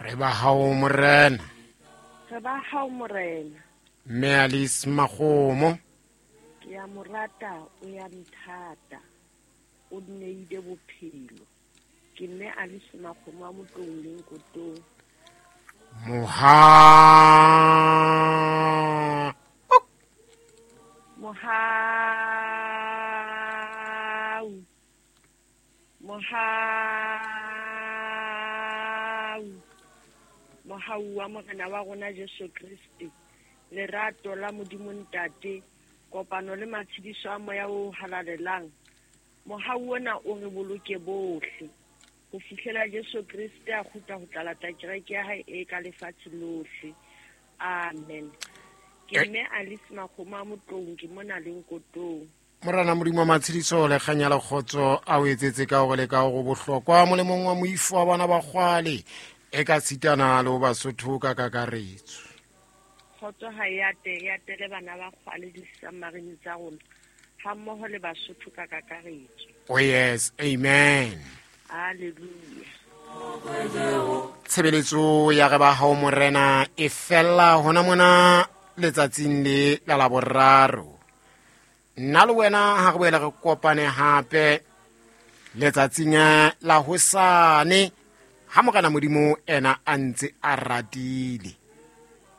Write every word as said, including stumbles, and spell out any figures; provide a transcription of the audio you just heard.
Re ba hao Morena. Re ba hao Morena. Mme Alice Makgomo. Ke ya mo rata, o ya nthata. O nneile bophelo. Ke mme Alice Makgomo wa Motlong le Nkotong. Moha Mohau. Mohau. Mohau wa Morena wa rona Jesu Kriste. Lerato la Modimo Ntate, kopano le matshediso a Moya o halalelang. Mohau ona o re boloke bohle ho fihlela Jesu Kriste a kgutla ho tla lata kereke ya hae e ka lefatshe lohle. Amen. Ke mme Alice Makgomo a Motlong, ke mona le Nkotong. Morena Modimo wa matshediso le kganya le kgotso a o etsetse ka hore le ka hore bohlokwa molemong wa moifo wa bana ba kgwale e ka sitana le ho Basotho ka kakaretso. Kgotso ha e ate, e atele bana ba kgwale di-submarine tsa rona ha mmoho le Basotho ka kakaretso. Oh yes, amen. Hallelujah. Tshebeletso ya re ba hao Morena e fella hona mona letsatsing le la Laboraro. Nna le wena ha re boela re kopane hape letsatsing la hosane ha Morena Modimo ena a ntse a ratile.